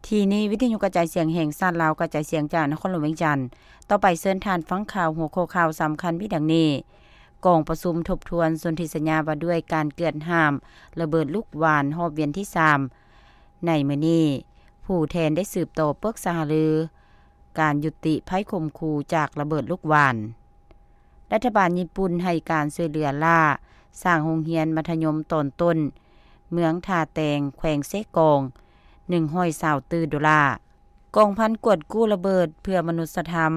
ທີ່ນີ້ ວິທະຍຸກະຈາຍສຽງແຫ່ງຊາດລາວ ກະຈາຍສຽງຈາກນະຄອນຫຼວງວຽງຈັນ. ຕໍ່ໄປເຊີນທ່ານຟັງຂ່າວ ຫົວຂໍ້ຂ່າວສຳຄັນມີດັ່ງນີ້: ກອງປະຊຸມທົບທວນສົນທິສັນຍາວ່າດ້ວຍການເກືອດຫ້າມລະເບີດລູກຫວ່ານຮອບວຽນທີສາມ ໃນມື້ນີ້ ຜູ້ແທນໄດ້ສືບຕໍ່ປຶກສາຫາລືການຍຸຕິໄພຂົ່ມຂູ່ຈາກລະເບີດລູກຫວ່ານ. ລັດຖະບານຍີ່ປຸ່ນໃຫ້ການຊ່ວຍເຫຼືອລ້າສ້າງໂຮງຮຽນມັດທະຍົມຕອນຕົ້ນເມືອງທ່າແຕງ ແຂວງເຊກອງ ໜຶ່ງຮ້ອຍຊາວຕື້ໂດລາ. ກອງພັນກວດກູ້ລະເບີດເພື່ອມະນຸດສະທຳ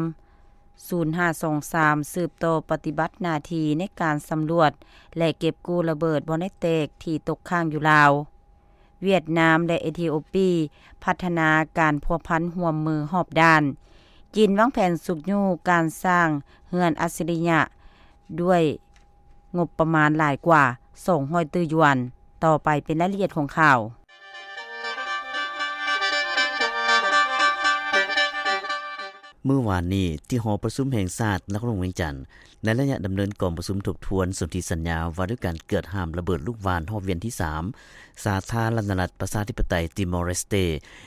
ສູນຫ້າສອງສາມ ສືບຕໍ່ປະຕິບັດໜ້າທີ່ໃນການສຳຫຼວດ ແລະ ເກັບກູ້ລະເບີດບໍ່ໄດ້ແຕກທີ່ຕົກຄ້າງຢູ່ລາວ. ຫວຽດນາມ ແລະ ເອທິໂອປີ ພັດທະນາການພົວພັນຮ່ວມມືຮອບດ້ານ. ຈີນວາງແຜນຊຸກຍູ້ການສ້າງເຮືອນອັດສະລິຍະ ດ້ວຍງົບປະມານຫຼາຍກວ່າສອງຮ້ອຍຕື້ຢວນ. ຕໍ່ໄປເປັນລາຍລະອຽດຂອງຂ່າວ. ມື້ວານນີ້ ທີ່ຫໍປະຊຸມແຫ່ງຊາດນະຄອນຫຼວງວຽງຈັນ, ໃນໄລຍະດຳເນີນກອງປະຊຸມທົບທວນສົນທິສັນຍາວ່າດ້ວຍການເກືອດຫ້າມລະເບີດລູກຫວ່ານຮອບວຽນທີສາມ, ສາທາລະນະລັດປະຊາທິປະໄຕຕີມໍເຣສເຕ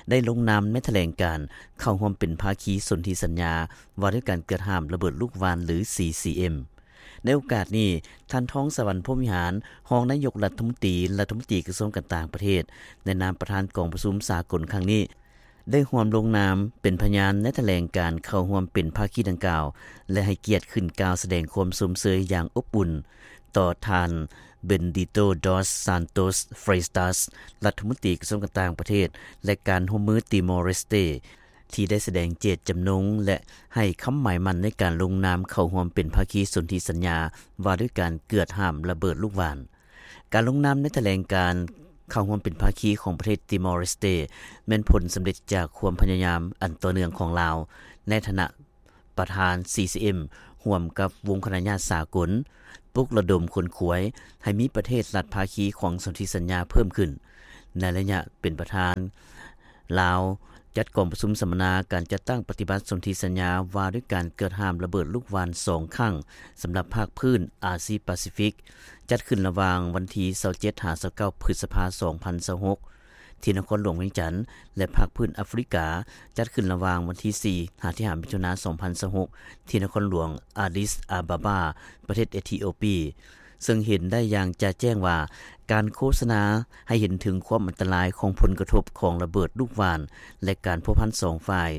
ໄດ້ລົງນາມໃນຖະແຫຼງການເຂົ້າຮ່ວມເປັນພາຄີສົນທິສັນຍາວ່າດ້ວຍການເກືອດຫ້າມລະເບີດລູກຫວ່ານ ຫຼື ຊີຊີເອັມ. ໃນໂອກາດນີ້, ທ່ານ ທອງສະຫວັນ ພົມວິຫານ ຮອງນາຍົກລັດຖະມົນຕີ, ລັດຖະມົນຕີກະຊວງການຕ່າງປະເທດ ໃນນາມປະທານກອງປະຊຸມສາກົນຄັ້ງນີ້, ໄດ້ຮ່ວມລົງນາມເປັນພະຍານໃນຖະແຫຼງການເຂົ້າຮ່ວມເປັນພາຄີດັ່ງກ່າວ ແລະ ໃຫ້ກຽດຂຶ້ນກ່າວສະແດງຄວາມຊົມເຊີຍຢ່າງອົບອຸ່ນຕໍ່ທ່ານ ເບັນດິໂຕ ດອສ ຊານໂຕສ ເຟຣຕາສ ລັດຖະມົນຕີກະຊວງການຕ່າງປະເທດ ແລະ ການຮ່ວມມືຕີມໍເຣສເຕ ທີ່ໄດ້ສະແດງເຈດຈຳນົງ ແລະ ໃຫ້ຄຳໝາຍໝັ້ນໃນການລົງນາມເຂົ້າຮ່ວມເປັນພາຄີສົນທິສັນຍາວ່າດ້ວຍການເກືອດຫ້າມລະເບີດລູກຫວ່ານ. ການລົງນາມໃນຖະແຫຼງການເຂົ້າຮ່ວມເປັນພາຄີຂອງປະເທດຕີມໍເຣສເຕ ແມ່ນຜົນສຳເລັດຈາກຄວາມພະຍາຍາມອັນຕໍ່ເນື່ອງຂອງລາວ ໃນຖານະປະທານ ຊີຊີເອັມ ຮ່ວມກັບວົງຄະນະຍາດສາກົນ, ປຸກລະດົມຂົນຂວາຍໃຫ້ມີປະເທດລັດພາຄີຂອງສົນທິສັນຍາເພີ່ມຂຶ້ນ. ໃນໄລຍະເປັນປະທານ, ລາວຈັດກອງປະຊຸມສຳມະນາການຈັດຕັ້ງປະຕິບັດສົນທິສັນຍາວ່າດ້ວຍການເກີດຫ້າມລະເບີດລູກຫວ່ານສອງຄັ້ງ ສຳລັບພາກພື້ນອາຊີປາຊີຟິກ, ຈັດຂຶ້ນລະຫວ່າງວັນທີຊາວເຈັດຫາຊາວເກົ້າ ພຶດສະພາ ສອງພັນຊາວຫົກ ທີ່ນະຄອນຫຼວງວຽງຈັນ ແລະ ພາກພື້ນອາຟຣິກາ ຈັດຂຶ້ນລະຫວ່າງວັນທີສີ່ຫາທີຫ້າ ມິຖຸນາ ສອງພັນຊາວຫົກ ທີ່ນະຄອນຫຼວງອາດິສອາບາບາ ປະເທດເອທິໂອປີ. ເຊິ່ງເຫັນໄດ້ຢ່າງຈະແຈ້ງວ່າ ການໂຄສະນາໃຫ້ເຫັນເຖິງຄວາມອັນຕະລາຍຂອງຜົນກະທົບຂອງລະເບີດລູກຫວ່ານ ແລະ ການພົວພັນສອງຝ່າຍ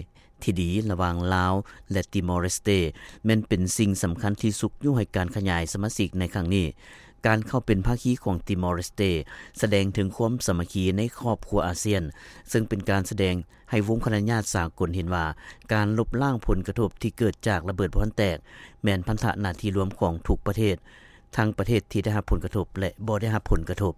ທີ່ດີລະຫວ່າງລາວ ແລະ ຕີມໍເຣສເຕ ແມ່ນເປັນສິ່ງສຳຄັນທີ່ຊຸກຍູ້ໃຫ້ການຂະຫຍາຍສະມາຊິກໃນຄັ້ງນີ້. ການເຂົ້າເປັນພາຄີຂອງຕີມໍເຣສເຕ ສະແດງເຖິງຄວາມສາມັກຄີໃນຄອບຄົວອາຊຽນ, ເຊິ່ງເປັນການສະແດງໃຫ້ວົງຄະນະຍາດສາກົນເຫັນວ່າ ການລົບລ້າງຜົນກະທົບທີ່ເກີດຈາກລະເບີດບໍ່ທັນແຕກ ແມ່ນພັນທະໜ້າທີ່ລວມຂອງທຸກປະເທດ, ທັງປະເທດທີ່ໄດ້ຮັບຜົນກະທົບ ແລະ ບໍ່ໄດ້ຮັບຜົນກະທົບ.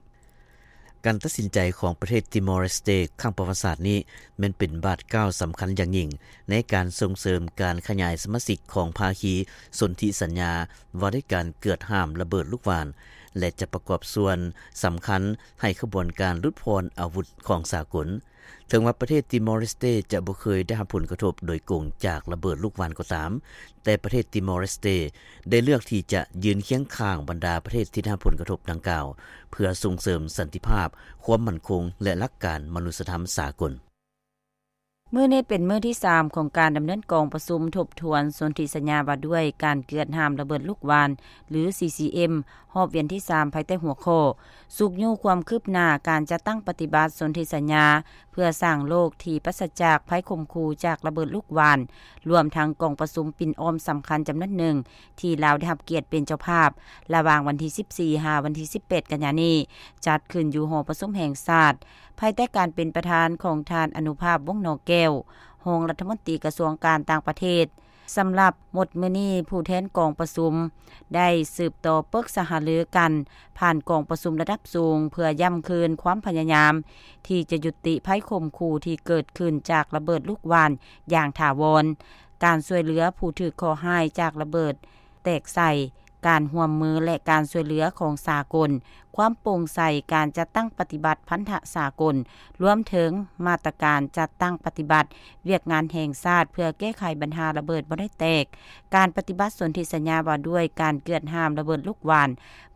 ການຕັດສິນໃຈຂອງປະເທດຕີມໍເຣສເຕຄັ້ງປະຫວັດສາດນີ້ ແມ່ນເປັນບາດກ້າວສຳຄັນຢ່າງຍິ່ງໃນການສົ່ງເສີມການຂະຫຍາຍສະມາຊິກຂອງພາຄີສົນທິສັນຍາວ່າດ້ວຍການເກືອດຫ້າມລະເບີດລູກຫວ່ານ ແລະ ຈະປະກອບສ່ວນສຳຄັນໃຫ້ຂະບວນການຫຼຸດຜ່ອນອາວຸດຂອງສາກົນ. ເຖິງວ່າປະເທດຕີມໍເຣສເຕຈະບໍ່ເຄີຍໄດ້ຮັບຜົນກະທົບໂດຍກົງຈາກລະເບີດລູກຫວ່ານກໍຕາມ, ແຕ່ປະເທດຕີມໍເຣສເຕໄດ້ເລືອກທີ່ຈະຢືນຄຽງຂ້າງບັນດາປະເທດທີ່ໄດ້ຮັບຜົນກະທົບດັ່ງກ່າວ ເພື່ອສົ່ງເສີມສັນຕິພາບ, ຄວາມໝັ້ນຄົງ ແລະ ຫຼັກການມະນຸດສະທຳສາກົນ. ມື້ນີ້ເປັນມື້ທີສາມຂອງການດຳເນີນກອງປະຊຸມທົບທວນສົນທິສັນຍາວ່າດ້ວຍການເກືອດຫ້າມລະເບີດລູກຫວ່ານ ຫຼື ຊີຊີເອັມ ຮອບວຽນທີສາມ ພາຍໃຕ້ຫົວຂໍ້ ຊຸກຍູ້ຄວາມຄືບໜ້າການຈັດຕັ້ງປະຕິບັດສົນທິສັນຍາ ເພື່ອສ້າງໂລກທີ່ປາສະຈາກໄພຂົ່ມຂູ່ຈາກລະເບີດລູກຫວ່ານ, ລວມທັງກອງປະຊຸມປິ່ນອ້ອມສຳຄັນຈຳນວນໜຶ່ງ ທີ່ລາວໄດ້ຮັບກຽດເປັນເຈົ້າພາບ ລະຫວ່າງວັນທີສິບສີ່ ຫາ ວັນທີສິບແປດ ກັນຍານີ້ ຈັດຂຶ້ນຢູ່ຫໍປະຊຸມແຫ່ງຊາດ ພາຍໃຕ້ການເປັນປະທານຂອງທ່ານ ອະນຸພາບ ວົງໜໍແກ້ວ ຮອງລັດຖະມົນຕີກະຊວງການຕ່າງປະເທດ. ສຳລັບໝົດມື້ນີ້, ຜູ້ແທນກອງປະຊຸມໄດ້ສືບຕໍ່ປຶກສາຫາລືກັນ ຜ່ານກອງປະຊຸມລະດັບສູງ ເພື່ອຢ້ຳຄືນຄວາມພະຍາຍາມທີ່ຈະຍຸຕິໄພຂົ່ມຂູ່ທີ່ເກີດຂຶ້ນຈາກລະເບີດລູກຫວ່ານຢ່າງຖາວອນ, ການຊ່ວຍເຫຼືອຜູ້ຖືກເຄາະຮ້າຍຈາກລະເບີດແຕກໃສ່, ການຮ່ວມມື ແລະ ການຊ່ວຍເຫຼືອຂອງສາກົນ ຄວາມໂປ່ງໃສການຈັດຕັ້ງປະຕິບັດພັນທະສາກົນ, ລວມເຖິງມາດຕະການຈັດຕັ້ງປະຕິບັດວຽກງານແຫ່ງຊາດເພື່ອແກ້ໄຂບັນຫາລະເບີດບໍ່ໄດ້ແຕກ, ການປະຕິບັດສົນທິສັນຍາວ່າດ້ວຍການເກືອດຫ້າມລະເບີດລູກຫວ່ານ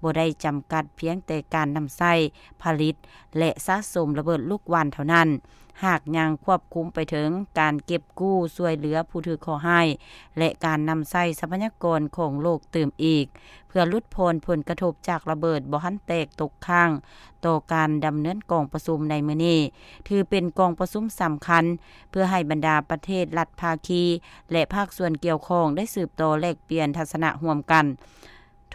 ບໍ່ໄດ້ຈຳກັດພຽງແຕ່ການນຳໃຊ້, ຜະລິດ ແລະ ສະສົມລະເບີດລູກຫວ່ານເທົ່ານັ້ນ, ຫາກຍັງຄວບຄຸມໄປເຖິງການເກັບກູ້ຊ່ວຍເຫຼືອຜູ້ຖືກເຄາະຮ້າຍ ແລະ ການນຳໃຊ້ຊັບພະຍາກອນຂອງໂລກຕື່ມອີກ ເພື່ອຫຼຸດຜ່ອນຜົນກະທົບຈາກລະເບີດບໍ່ທັນແຕກຕົກຄ້າງ. ຕໍ່ການດຳເນີນກອງປະຊຸມໃນມື້ນີ້ ຖືເປັນກອງປະຊຸມສຳຄັນ ເພື່ອໃຫ້ບັນດາປະເທດລັດພາຄີ ແລະ ພາກສ່ວນກ່ຽວຂ້ອງໄດ້ສືບຕໍ່ແລກປ່ຽນທັດສະນະຮ່ວມກັນ,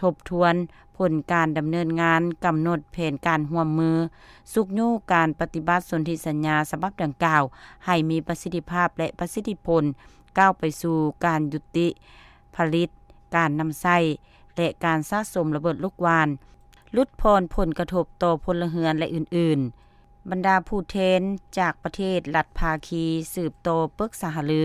ທົບທວນຜົນການດຳເນີນງານ, ກຳນົດແຜນການຮ່ວມມື, ຊຸກຍູ້ການປະຕິບັດສົນທິສັນຍາສະບັບດັ່ງກ່າວໃຫ້ມີປະສິດທິພາບ ແລະ ປະສິດທິຜົນ, ກ້າວໄປສູ່ການຍຸຕິຜະລິດ, ການນຳໃຊ້ ແລະ ການສະສົມລະເບີດລູກຫວ່ານ, ຫຼຸດຜ່ອນຜົນກະທົບຕໍ່ພົນລະເຮືອນ ແລະ ອື່ນໆ. ບັນດາຜູ້ແທນຈາກປະເທດລັດພາຄີສືບຕໍ່ປຶກສາຫາລື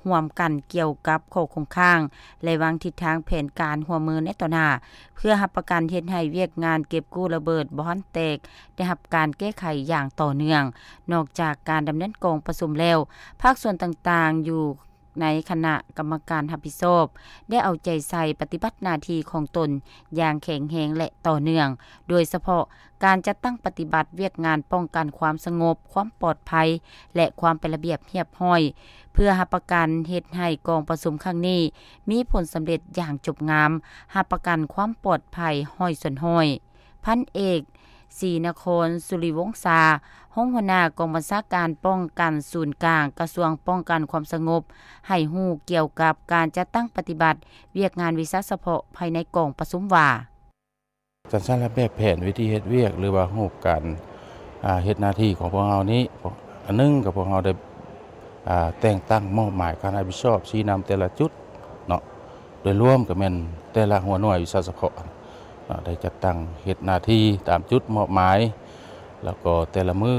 ຮ່ວມກັນກ່ຽວກັບຂໍ້ຄົງຄ້າງ ແລະ ວາງທິດທາງແຜນການຮ່ວມມືໃນຕໍ່ໜ້າ ເພື່ອຮັບປະກັນເຮັດໃຫ້ວຽກງານເກັບກູ້ລະເບີດບໍ່ທັນແຕກໄດ້ຮັບການແກ້ໄຂຢ່າງຕໍ່ເນື່ອງ. ນອກຈາກການດຳເນີນກອງປະຊຸມແລ້ວ, ພາກສ່ວນຕ່າງໆຢູ່ ໃນຄະນະກຳມະການຮັບຜິດຊອບ ໄດ້ເອົາໃຈໃສ່ປະຕິບັດໜ້າທີ່ຂອງຕົນຢ່າງແຂງແຮງ ແລະ ຕໍ່ເນື່ອງ, ໂດຍສະເພາະການຈັດຕັ້ງປະຕິບັດວຽກງານປ້ອງກັນຄວາມສະຫງົບ, ຄວາມປອດໄພ ແລະ ຄວາມເປັນລະບຽບຮຽບຮ້ອຍ, ເພື່ອຮັບປະກັນເຮັດໃຫ້ກອງປະຊຸມຄັ້ງນີ້ມີຜົນສຳເລັດຢ່າງຈົບງາມ, ຮັບປະກັນຄວາມປອດໄພຮ້ອຍສ່ວນຮ້ອຍ. ພັນເອກ ສີນະຄອນ ສຸລິວົງສາ, ຮອງຫົວໜ້າກອງບັນຊາການປ້ອງກັນສູນກາງ ກະຊວງປ້ອງກັນຄວາມສະຫງົບ ໃຫ້ຮູ້ກ່ຽວກັບການຈັດຕັ້ງປະຕິບັດວຽກງານວິຊາສະເພາະພາຍໃນກອງປະຊຸມວ່າ, ການສ້າງແບບແຜນວິທີເຮັດວຽກ ຫຼືວ່າຮູບການ ອາ ເຮັດໜ້າທີ່ຂອງພວກເຮົານີ້ ອັນໜຶ່ງກໍພວກເຮົາໄດ້ ອາ ແຕ່ງຕັ້ງມອບໝາຍການຮັບຜິດຊອບຊີ້ນຳແຕ່ລະຈຸດເນາະ ໂດຍລວມກໍແມ່ນແຕ່ລະຫົວໜ່ວຍວິຊາສະເພາະເນາະ ໄດ້ຈັດຕັ້ງເຮັດໜ້າທີ່ຕາມຈຸດມອບໝາຍ ແລ້ວກໍແຕ່ລະມື້ ອ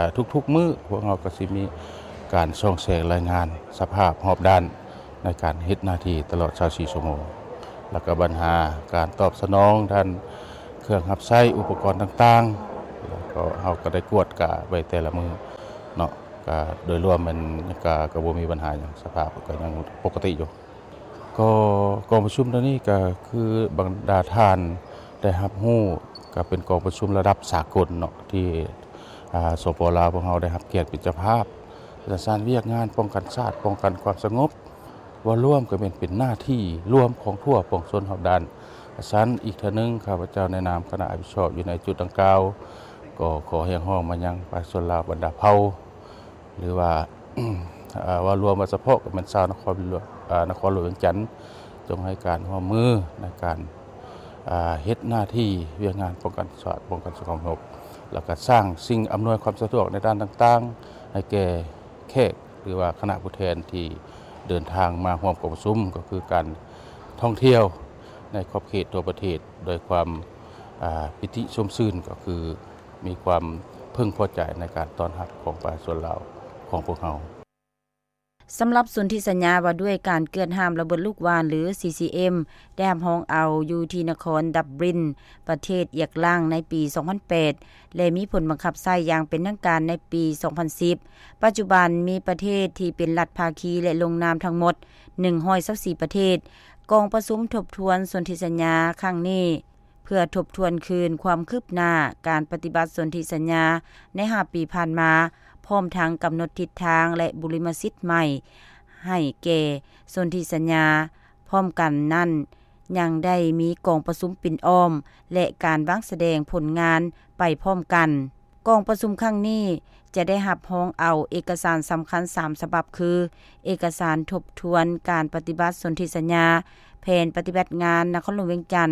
າ ທຸກໆມື້ພວກເຮົາກໍຊິມີການສ່ອງແສງລາຍງານສະພາບຮອບດ້ານໃນການເຮັດໜ້າທີ່ຕະຫຼອດຊາວສີ່ຊົ່ວໂມງ ແລ້ວກໍບັນຫາການຕອບສະໜອງດ້ານເຄື່ອງຮັບໃຊ້ອຸປະກອນຕ່າງໆ ແລ້ວກໍເຮົາກໍໄດ້ກວດກາໄວ້ແຕ່ລະມື້ເນາະ ກະໂດຍລວມແມ່ນກະ ກະບໍ່ມີບັນຫາຫຍັງ ສະພາບກໍຍັງປົກກະຕິຢູ່. ກໍກອງປະຊຸມເທື່ອນີ້ກະຄືບັນດາທ່ານໄດ້ຮັບຮູ້ ກະເປັນກອງປະຊຸມລະດັບສາກົນເນາະ ທີ່ ອາ ສປ ລາວ ພວກເຮົາໄດ້ຮັບກຽດເປັນເຈົ້າພາບ ສະຖານວຽກງານປ້ອງກັນຊາດ ປ້ອງກັນຄວາມສະຫງົບ ເວົ້າລວມກໍແມ່ນເປັນໜ້າທີ່ລວມຂອງທົ່ວປວງຊົນຮອບດ້ານ. ສະນັ້ນ ອີກເທື່ອໜຶ່ງ ຂ້າພະເຈົ້າໃນນາມຄະນະຮັບຜິດຊອບຢູ່ໃນຈຸດດັ່ງກ່າວ ກໍຂໍຮຽກຮ້ອງມາຍັງປະຊາຊົນລາວບັນດາເຜົ່າ ຫຼືວ່າ ເວົ້າລວມວ່າສະເພາະກໍແມ່ນຊາວນະຄອນຫຼວງ ອາ ນະຄອນຫຼວງວຽງຈັນ ຈົ່ງໃຫ້ການຮ່ວມມືໃນການ ອາ ເຮັດໜ້າທີ່ວຽກງານປ້ອງກັນຊາດ ປ້ອງກັນສະຫງົບ ແລ້ວກໍສ້າງສິ່ງອຳນວຍຄວາມສະດວກໃນດ້ານຕ່າງໆ ໃຫ້ແກ່ແຂກ ຫຼືວ່າຄະນະຜູ້ແທນທີ່ເດີນທາງມາຮ່ວມກອງປະຊຸມ ກໍຄືການທ່ອງທ່ຽວໃນຂອບເຂດທົ່ວປະເທດ ໂດຍຄວາມ ອາ ປີຕິຊົມຊື່ນ ກໍຄືມີຄວາມເພິ່ງພໍໃຈໃນການຕ້ອນຮັບຂອງປະຊາຊົນລາວຂອງພວກເຮົາ. ສຳລັບສົນທິສັນຍາວ່າດ້ວຍການເກືອດຫ້າມລະເບີດລູກຫວ່ານ ຫຼື ຊີຊີເອັມ ໄດ້ຮັບຮອງເອົາຢູ່ທີ່ນະຄອນດັບບລິນ ປະເທດອຽກລາງໃນປີສອງພັນແປດ ແລະ ມີຜົນບັງຄັບໃຊ້ຢ່າງເປັນທາງການໃນປີສອງພັນສິບ. ປັດຈຸບັນມີປະເທດທີ່ເປັນລັດພາຄີ ແລະ ລົງນາມທັງໝົດໜຶ່ງຮ້ອຍຊາວສີ່ປະເທດ. ກອງປະຊຸມທົບທວນສົນທິສັນຍາຄັ້ງນີ້ ເພື່ອທົບທວນຄືນຄວາມຄືບໜ້າການປະຕິບັດສົນທິສັນຍາໃນຫ້າປີຜ່ານມາ, ພ້ອມທັງກຳນົດທິດທາງ ແລະ ບຸລິມະສິດໃໝ່ໃຫ້ແກ່ສົນທິສັນຍາ. ພ້ອມກັນນັ້ນ, ຍັງໄດ້ມີກອງປະຊຸມປິ່ນອ້ອມ ແລະ ການວາງສະແດງຜົນງານໄປພ້ອມກັນ. ກອງປະຊຸມຄັ້ງນີ້ຈະໄດ້ຮັບຮອງເອົາເອກະສານສຳຄັນສາມສະບັບ ຄື ເອກະສານທົບທວນການປະຕິບັດສົນທິສັນຍາ, ແຜນປະຕິບັດງານນະຄອນຫຼວງວຽງຈັນ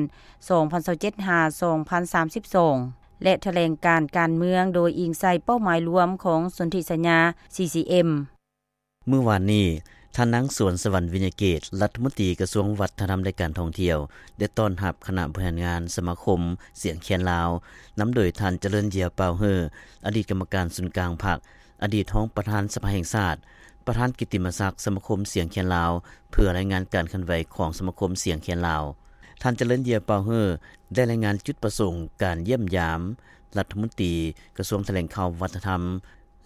ສອງພັນຊາວເຈັດ ຫາ ສອງພັນສາມສິບສອງ ແລະ ຖະແຫຼງການການເມືອງ ໂດຍອີງໃສ່ເປົ້າໝາຍລວມຂອງສົນທິສັນຍາ ຊີຊີເອັມ. ມື້ວານນີ້, ທ່ານນາງ ສວນສະຫວັນ ວິຍະເກດ ລັດຖະມົນຕີກະຊວງວັດທະນະທຳ ແລະ ການທ່ອງທ່ຽວ ໄດ້ຕ້ອນຮັບຄະນະບໍລິຫານງານສະມາຄົມສຽງແຄນລາວ, ນຳໂດຍທ່ານ ຈະເລີນ ເຢຍປາວເຮີ ອະດີດກຳມະການສູນກາງພັກ, ອະດີດຮອງປະທານສະພາແຫ່ງຊາດ, ປະທານກິດຕິມະສັກສະມາຄົມສຽງແຄນລາວ ເພື່ອລາຍງານການເຄື່ອນໄຫວຂອງສະມາຄົມສຽງແຄນລາວ. ທ່ານ ຈະເລີນເຢຍ ເປົາເຮີ ໄດ້ລາຍງານຈຸດປະສົງການຢ້ຽມຢາມລັດຖະມົນຕີກະຊວງຖະແຫຼງຂ່າວ, ວັດທະນະທຳ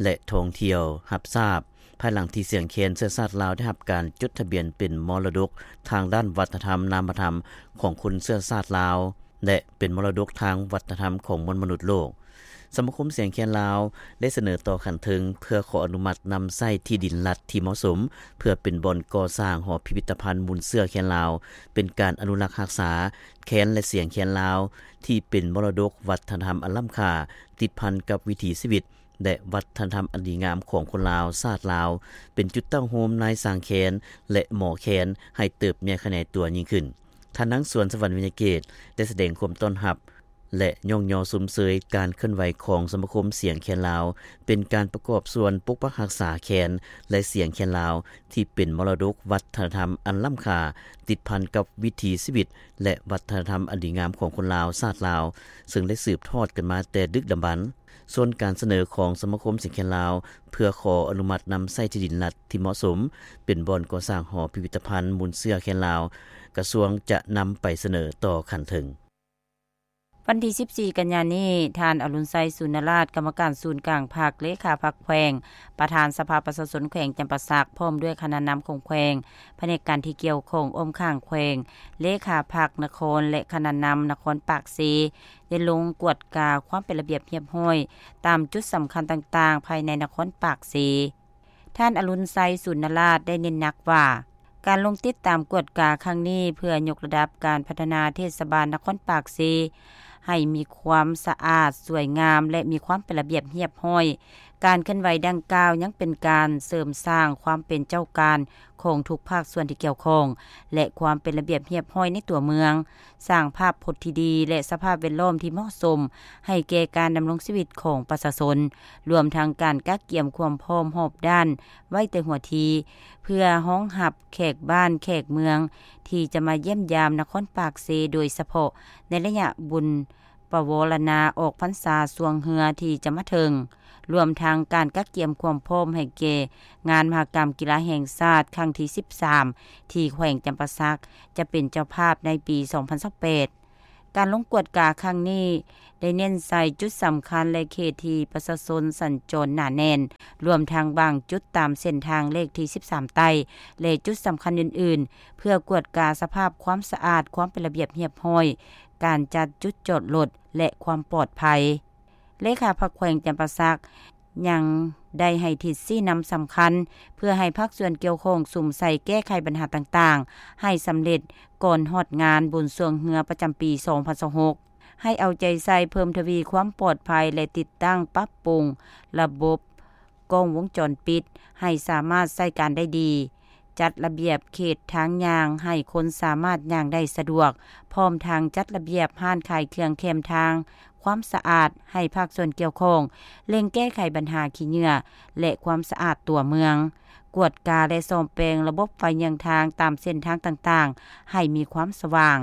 ແລະ ທ່ອງທ່ຽວ ຮັບຊາບ ພາຍຫຼັງທີ່ສຽງແຄນເຊື້ອຊາດລາວໄດ້ຮັບການຈົດທະບຽນເປັນມໍລະດົກທາງດ້ານວັດທະນະທຳນາມະທຳຂອງຄົນເຊື້ອຊາດລາວ ແລະ ເປັນມໍລະດົກທາງວັດທະນະທຳຂອງມວນມະນຸດໂລກ. ສະມາຄົມສຽງແຄນລາວໄດ້ສະເໜີຕໍ່ຂັ້ນເທິງເພື່ອຂໍອະນຸມັດນຳໃຊ້ທີ່ດິນລັດທີ່ເໝາະສົມ ເພື່ອເປັນບ່ອນກໍ່ສ້າງຫໍພິພິທະພັນມູນເຊື້ອແຄນລາວ, ເປັນການອະນຸລັກຮັກສາແຄນ ແລະ ສຽງແຄນລາວ ທີ່ເປັນມໍລະດົກວັດທະນະທຳອັນລ້ຳຄ່າ ຕິດພັນກັບວິຖີຊີວິດ ແລະ ວັດທະນະທຳອັນດີງາມຂອງຄົນລາວ, ຊາດລາວ, ເປັນຈຸດຕັ້ງໂຮມນາຍຊ່າງແຄນ ແລະ ໝໍແຄນ ໃຫ້ເຕີບໃຫຍ່ຂະຫຍາຍຕົວຍິ່ງຂຶ້ນ. ທ່ານນາງ ສວນສະຫວັນ ວິຍະເກດ ໄດ້ສະແດງຄວາມຕ້ອນຮັບ ແລະ ຍ້ອງຍໍຊົມເຊີຍການເຄື່ອນໄຫວຂອງສະມາຄົມສຽງແຄນລາວ, ເປັນການປະກອບສ່ວນປົກປັກຮັກສາແຄນ ແລະ ສຽງແຄນລາວ ທີ່ເປັນມໍລະດົກວັດທະນະທຳອັນລ້ຳຄ່າ ຕິດພັນກັບວິຖີຊີວິດ ແລະ ວັດທະນະທຳອັນດີງາມຂອງຄົນລາວ, ຊາດລາວ, ເຊິ່ງໄດ້ສືບທອດກັນມາແຕ່ດຶກດຳບັນ. ສ່ວນການສະເໜີຂອງສະມາຄົມສຽງແຄນລາວ ເພື່ອຂໍອະນຸມັດນຳໃຊ້ທີ່ດິນລັດທີ່ເໝາະສົມ ເປັນບ່ອນກໍ່ສ້າງຫໍພິພິທະພັນມູນເຊື້ອແຄນລາວ, ກະຊວງຈະນຳໄປສະເໜີຕໍ່ຂັ້ນເທິງ. ວັນທີສິບສີ່ ກັນຍານີ້, ທ່ານ ອະລຸນໄຊ ສູນນະລາດ ກຳມະການສູນກາງພັກ, ເລຂາພັກແຂວງ, ປະທານສະພາປະຊາຊົນແຂວງຈຳປາສັກ, ພ້ອມດ້ວຍຄະນະນຳຂອງແຂວງ, ພະແນກການທີ່ກ່ຽວຂ້ອງອ້ອມຂ້າງແຂວງ, ເລຂາພັກນະຄອນ ແລະ ຄະນະນຳນະຄອນປາກເຊ ໄດ້ລົງກວດກາຄວາມເປັນລະບຽບຮຽບຮ້ອຍຕາມຈຸດສຳຄັນຕ່າງໆ ພາຍໃນນະຄອນປາກເຊ. ທ່ານ ອະລຸນໄຊ ສູນນະລາດ ໄດ້ເນັ້ນໜັກວ່າ ການລົງຕິດຕາມກວດກາຄັ້ງນີ້ ເພື່ອຍົກລະດັບການພັດທະນາເທດສະບານນະຄອນປາກເຊ ໃຫ້ມີຄວາມສະອາດ, ສວຍງາມ ແລະ ມີຄວາມເປັນລະບຽບຮຽບຮ້ອຍ. ການເຄື່ອນໄຫວດັ່ງກ່າວຍັງເປັນການເສີມສ້າງຄວາມເປັນເຈົ້າການຂອງທຸກພາກສ່ວນທີ່ກ່ຽວຂ້ອງ ແລະ ຄວາມເປັນລະບຽບຮຽບຮ້ອຍໃນຕົວເມືອງ, ສ້າງພາບພົດທີ່ດີ ແລະ ສະພາບແວດລ້ອມທີ່ເໝາະສົມໃຫ້ແກ່ການດຳລົງຊີວິດຂອງປະຊາຊົນ, ລວມທັງການກະກຽມຄວາມພ້ອມຮອບດ້ານໄວ້ແຕ່ຫົວທີ ເພື່ອຮອງຮັບແຂກບ້ານແຂກເມືອງທີ່ຈະມາຢ້ຽມຢາມນະຄອນປາກເຊ ໂດຍສະເພາະໃນໄລຍະບຸນປະວໍລະນາອອກພັນສາຊ່ວງເຮືອທີ່ຈະມາເຖິງ, ລວມທັງການກະກຽມຄວາມພ້ອມໃຫ້ແກ່ງານມະຫະກຳກິລາແຫ່ງຊາດຄັ້ງທີສິບສາມ ທີ່ແຂວງຈຳປາສັກຈະເປັນເຈົ້າພາບໃນປີສອງພັນຊາວແປດ. ການລົງກວດກາຄັ້ງນີ້ໄດ້ເນັ້ນໃສ່ຈຸດສຳຄັນ ແລະ ເຂດທີ່ປະຊາຊົນສັນຈອນໜາແໜ້ນ, ລວມທັງບາງຈຸດຕາມເສັ້ນທາງເລກທີສິບສາມໃຕ້ ແລະ ຈຸດສຳຄັນອື່ນໆ ເພື່ອກວດກາສະພາບຄວາມສະອາດ, ຄວາມເປັນລະບຽບຮຽບຮ້ອຍ, ການຈັດຈຸດຈອດລົດ ແລະ ຄວາມປອດໄພ. ເລຂາພັກແຂວງຈຳປາສັກ ຍັງໄດ້ໃຫ້ທິດຊີ້ນຳສຳຄັນ ເພື່ອໃຫ້ພາກສ່ວນກ່ຽວຂ້ອງສຸມໃສ່ແກ້ໄຂບັນຫາຕ່າງໆ ໃຫ້ສຳເລັດກ່ອນຮອດງານບຸນຊ່ວງເຮືອປະຈຳປີສອງພັນຊາວຫົກ, ໃຫ້ເອົາໃຈໃສ່ເພີ່ມທະວີຄວາມປອດໄພ ແລະ ຕິດຕັ້ງປັບປຸງລະບົບກ້ອງວົງຈອນປິດໃຫ້ສາມາດໃຊ້ການໄດ້ດີ, ຈັດລະບຽບເຂດທາງຍ່າງໃຫ້ຄົນສາມາດຍ່າງໄດ້ສະດວກ, ພ້ອມທັງຈັດລະບຽບຮ້ານຂາຍເຄື່ອງແຄມທາງ, ຄວາມສະອາດໃຫ້ພາກສ່ວນກ່ຽວຂ້ອງ, ເລັ່ງແກ້ໄຂບັນຫາຂີ້ເຫຍື້ອ ແລະ ຄວາມສະອາດຕົວເມືອງ, ກວດກາ ແລະ ສ້ອມແປງລະບົບໄຟເຍືອງທາງຕາມເສັ້ນທາງຕ່າງໆ ໃຫ້ມີຄວາມສະຫວ່າງ,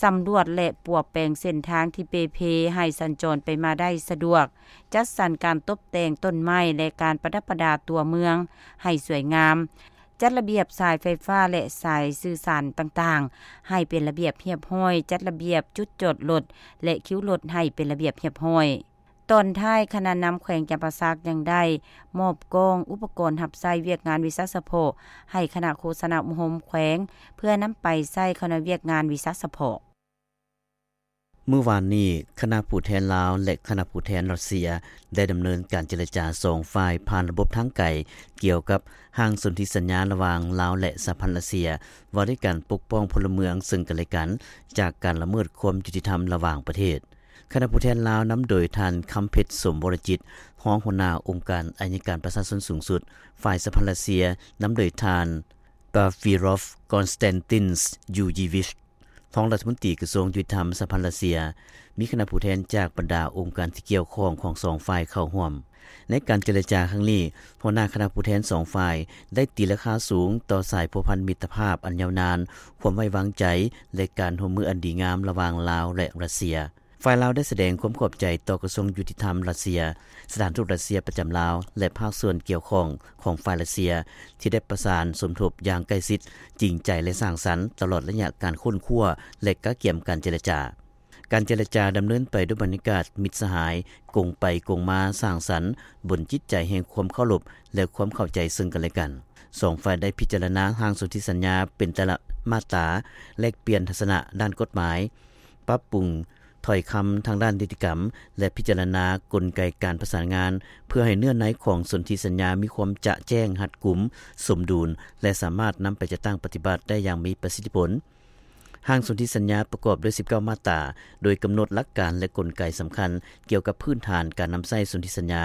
ສຳຫຼວດ ແລະ ປົວແປງເສັ້ນທາງທີ່ເປ່ເພໃຫ້ສັນຈອນໄປມາໄດ້ສະດວກ, ຈັດສັນການຕົບແຕ່ງຕົ້ນໄມ້ ແລະ ການປະດັບປະດາຕົວເມືອງໃຫ້ສວຍງາມ, ຈັດລະບຽບສາຍໄຟຟ້າ ແລະ ສາຍສື່ສານຕ່າງໆ ໃຫ້ເປັນລະບຽບຮຽບຮ້ອຍ, ຈັດລະບຽບຈຸດຈອດລົດ ແລະ ຄິວລົດໃຫ້ເປັນລະບຽບຮຽບຮ້ອຍ. ຕອນທ້າຍ, ຄະນະນຳແຂວງຈຳປາສັກຍັງໄດ້ມອບກ້ອງອຸປະກອນຮັບໃຊ້ວຽກງານວິຊາສະເພາະໃຫ້ຄະນະໂຄສະນາອົບຮົມແຂວງ ເພື່ອນຳໄປໃຊ້ເຂົ້າໃນວຽກງານວິຊາສະເພາະ. ມື້ວານນີ້, ຄະນະຜູ້ແທນລາວ ແລະ ຄະນະຜູ້ແທນຣັດເຊຍ ໄດ້ດຳເນີນການເຈລະຈາສອງຝ່າຍຜ່ານລະບົບທາງໄກ ກ່ຽວກັບຮ່າງສົນທິສັນຍາລະຫວ່າງລາວ ແລະ ສະຫະພັນຣັດເຊຍ ວ່າດ້ວຍການປົກປ້ອງພົນລະເມືອງເຊິ່ງກັນແລະກັນ ຈາກການລະເມີດຄວາມຍຸຕິທຳລະຫວ່າງປະເທດ. ຄະນະຜູ້ແທນລາວນຳໂດຍທ່ານ ຄຳເພັດ ສົມວໍລະຈິດ ຮອງຫົວໜ້າອົງການໄອຍະການປະຊາຊົນສູງສຸດ, ຝ່າຍສະຫະພັນຣັດເຊຍນຳໂດຍທ່ານ ກາຟີຣອຟ ກອນສະແຕນຕິນ ຢູຢີວິຊ ຮອງລັດຖະມົນຕີກະຊວງຍຸຕິທຳສະຫະພັນຣັດເຊຍ, ມີຄະນະຜູ້ແທນຈາກບັນດາອົງການທີ່ກ່ຽວຂ້ອງຂອງສອງຝ່າຍເຂົ້າຮ່ວມ. ໃນການເຈລະຈາຄັ້ງນີ້, ຫົວໜ້າຄະນະຜູ້ແທນສອງຝ່າຍໄດ້ຕີລາຄາສູງຕໍ່ສາຍພົວພັນມິດຕະພາບອັນຍາວນານ, ຄວາມໄວ້ວາງໃຈ ແລະ ການຮ່ວມມືອັນດີງາມລະຫວ່າງລາວ ແລະ ຣັດເຊຍ. ຝ່າຍລາວໄດ້ສະແດງຄວາມຂອບໃຈຕໍ່ກະຊວງຍຸຕິທຳຣັດເຊຍ, ສະຖານທູດຣັດເຊຍປະຈຳລາວ ແລະ ພາກສ່ວນກ່ຽວຂ້ອງຂອງຝ່າຍຣັດເຊຍ ທີ່ໄດ້ປະສານສົມທົບຢ່າງໃກ້ຊິດ, ຈິງໃຈ ແລະ ສ້າງສັນ ຕະຫຼອດໄລຍະການຄົ້ນຄວ້າ ແລະ ກະກຽມການເຈລະຈາ. ການເຈລະຈາດຳເນີນໄປດ້ວຍບັນຍາກາດມິດສະຫາຍ, ກົງໄປກົງມາ, ສ້າງສັນ, ບົນຈິດໃຈແຫ່ງຄວາມເຄົາລົບ ແລະ ຄວາມເຂົ້າໃຈເຊິ່ງກັນແລະກັນ. ສອງຝ່າຍໄດ້ພິຈາລະນາຮ່າງສົນທິສັນຍາເປັນແຕ່ລະມາດຕາ, ແລກປ່ຽນທັດສະນະດ້ານກົດໝາຍ, ປັບປຸງຖ້ອຍຄຳທາງດ້ານນິຕິກຳ ແລະ ພິຈາລະນາກົນໄກການປະສານງານ ເພື່ອໃຫ້ເນື້ອໃນຂອງສົນທິສັນຍາມີຄວາມຈະແຈ້ງ, ຮັດກຸມ, ສົມດຸນ ແລະ ສາມາດນຳໄປຈັດຕັ້ງປະຕິບັດໄດ້ຢ່າງມີປະສິດທິຜົນ. ຮ່າງສົນທິສັນຍາປະກອບດ້ວຍສິບເກົ້າມາດຕາ, ໂດຍກຳນົດຫຼັກການ ແລະ ກົນໄກສຳຄັນກ່ຽວກັບພື້ນຖານການນຳໃຊ້ສົນທິສັນຍາ,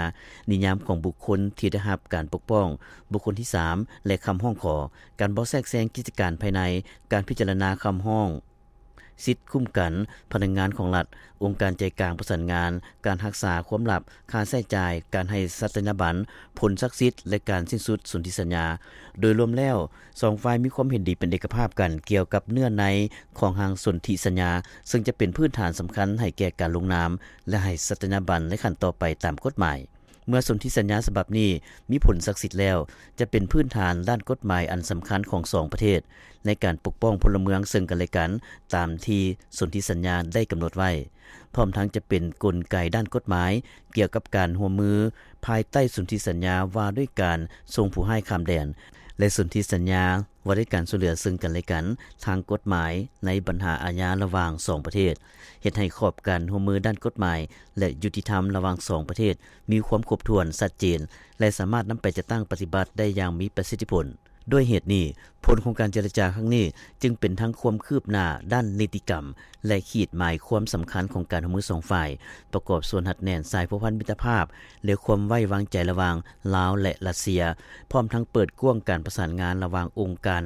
ນິຍາມຂອງບຸກຄົນທີ່ໄດ້ຮັບການປົກປ້ອງ, ບຸກຄົນທີສາມ ແລະ ຄຳຮ້ອງຂໍ, ການບໍ່ແຊກແຊງກິດຈະການພາຍໃນ, ການພິຈາລະນາຄຳຮ້ອງ, ສິດຄຸ້ມກັນພະນັກງານຂອງລັດ, ອົງການໃຈກາງປະສານງານ, ການຮັກສາຄວາມລັບ, ຄ່າໃຊ້ຈ່າຍ, ການໃຫ້ສັດຕະຍາບັນ, ຜົນສັກສິດ ແລະ ການສິ້ນສຸດສົນທິສັນຍາ. ໂດຍລວມແລ້ວ, ສອງຝ່າຍມີຄວາມເຫັນດີເປັນເອກະພາບກັນກ່ຽວກັບເນື້ອໃນຂອງຮ່າງສົນທິສັນຍາ, ເຊິ່ງຈະເປັນພື້ນຖານສຳຄັນໃຫ້ແກ່ການລົງນາມ ແລະ ໃຫ້ສັດຕະຍາບັນໃນຂັ້ນຕໍ່ໄປຕາມກົດໝາຍ. ເມື່ອສົນທິສັນຍາສະບັບນີ້ມີຜົນສັກສິດແລ້ວ, ຈະເປັນພື້ນຖານດ້ານກົດໝາຍອັນສຳຄັນຂອງສອງປະເທດ ໃນການປົກປ້ອງພົນລະເມືອງເຊິ່ງກັນແລະກັນ, ຕາມທີ່ສົນທິສັນຍາໄດ້ກຳນົດໄວ້. ພ້ອມທັງຈະເປັນກົນໄກດ້ານກົດໝາຍກ່ຽວກັບການຮ່ວມມືພາຍໃຕ້ສົນທິສັນຍາວ່າດ້ວຍການສົ່ງຜູ້ຮ້າຍຂ້າມແດນ ແລະ ສົນທິສັນຍາ ວ່າດ້ວຍການຊ່ວຍເຫຼືອເຊິ່ງກັນແລະກັນທາງກົດໝາຍໃນບັນຫາອາຍາລະຫວ່າງສອງປະເທດ, ເຮັດໃຫ້ຂອບການຮ່ວມມືດ້ານກົດໝາຍ ແລະ ຍຸຕິທຳລະຫວ່າງສອງປະເທດມີຄວາມຄົບຖ້ວນ, ຊັດເຈນ ແລະ ສາມາດນຳໄປຈັດຕັ້ງປະຕິບັດໄດ້ຢ່າງມີປະສິດທິຜົນ. ດ້ວຍເຫດນີ້, ຜົນຂອງການເຈລະຈາຄັ້ງນີ້ຈຶ່ງເປັນທັງຄວາມຄືບໜ້າດ້ານນິຕິກຳ ແລະ ຂີດໝາຍຄວາມສຳຄັນຂອງການຮ່ວມມືສອງຝ່າຍ, ປະກອບສ່ວນຮັດແໜ້ນສາຍພົວພັນມິດຕະພາບ ແລະ ຄວາມໄວ້ວາງໃຈລະຫວ່າງລາວ ແລະ ຣັດເຊຍ, ພ້ອມທັງເປີດກວ້າງການປະສານງານລະຫວ່າງອົງການ